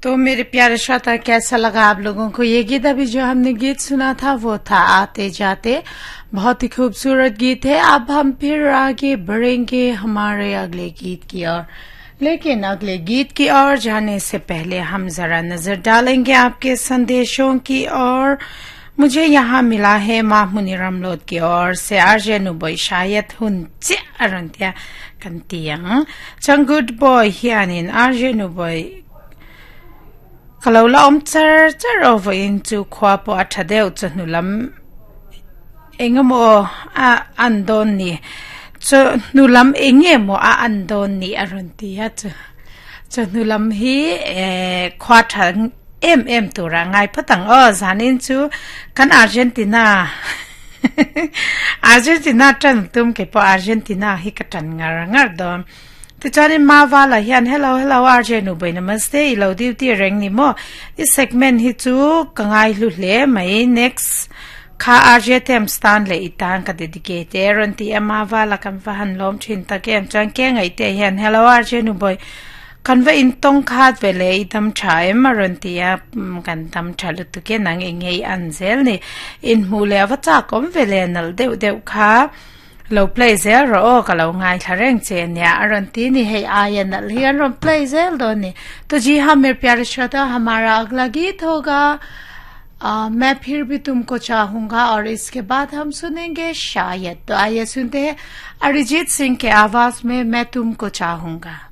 तो मेरे प्यारे श्रोता, कैसा लगा आप लोगों को ये गीत? अभी जो हमने गीत सुना था वो था आते जाते। बहुत ही खूबसूरत गीत है। अब हम फिर आगे बढ़ेंगे हमारे अगले गीत की ओर, लेकिन अगले गीत की ओर जाने से पहले हम जरा नजर डालेंगे आपके संदेशों की ओर। मुझे यहाँ मिला है माहमुनी रमलोद की ओर से आरजे नुबोय शायद हुन चे अरंतिया कंतियांग चंग गुड बॉय हियानिन आरजे नुबोय kalau la om char char over in chu khwa po atha deuh chu hnulam engemaw a an dawn ni chu hnulam enge maw a an dawn ni a rawn ti a chu chu hnulam hi eh khwa tha em em tura ngai phawt ang aw zanin chu kan Argentina Argentina tan tum ke pawh Argentina hi ka tan ngar ngar dawn. Tichuanin Mavala hian Hello hello RJ Nubei namaste i lo duty reng ni maw i segment hi chu ka ngai hlu hle mai next kha RJ Thames tan leh i tan ka dedicate e rawn ti a Mavala kan va han lawm thin tak em chuan ke ngaihte hian Hello RJ Nubei kan va intawng khat ve leh i dam tha em a rawn ti a kan dam tha lutuk e nang eng nge i an zel ni inhmuh leh a va chak awm ve leh nalh deuh deuh kha Lo play zel rawh aw ka lo ngaithla reng che ania a rawn ti ni hei aia nalh hi an rawn play zel dawn ni to ji haan mere pyare shrota hamara agla geet hoga main phir bhi tumko chahunga aur iske baad hum sunenge shayad to aaiye sunte hain Arijit Singh ke awaaz mein main tumko chahunga.